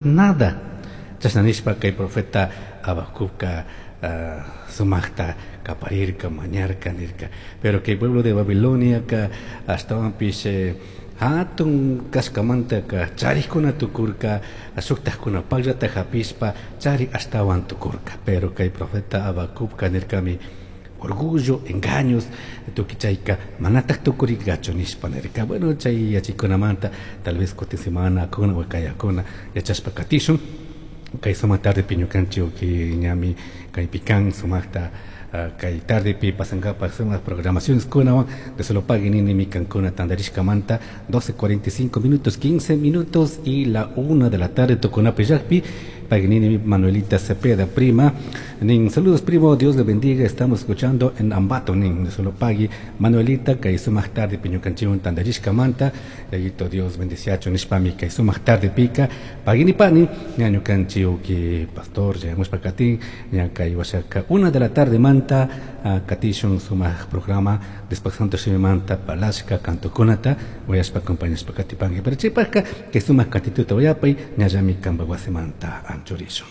Nada. Chashna nishpa kay profeta Habacucca sumajta caparirca, mañarca nirca. Pero kay pueblo de Babiloniaca ashtahuanpish jatun cashcamantaca charijcuna tucurca, shujtajcunapajllata japishpa chari ashtahuan tucurca. Pero kay profeta Habacucca nircami, orgullo, engaños, tucui chaica manataj tucuringachu nishpa nirca. Bueno, chay yachaykunamanta tal vez cutin semana kuna o kayakuna yachashpa katishun. Kay sumak tardepi ñukanchik ñami kaypi kan sumaqta kay tardepi pasankapak sumak programaciones kunawan de solo pagui ninimi kankuna tantarishkamanta 12:45 minutos, 15 minutos y la 1 de la tarde tukunapi llakpi. Pagui Manuelita Cepeda, prima. Nin, saludos primo, Dios le bendiga, estamos escuchando en Ambato, nin, de solo pagui. Manuelita, kay sumak tarde ñukanchikwan tantarishkamanta, Yayito Dios bendiciacho nishpami kay sumak tarde pika. Pagui pani, ña ñukanchik pastor, llegamos katin, ña kay washaka 1 de la tarde manta, katishun sumak programa, después santo shimimanta, palashka, cantokunata, uyashpa acompañashpa katipangi. Pero chaypajka, kay sumak katituta uyapay, ñallami kanpa wasimanta anchurishun.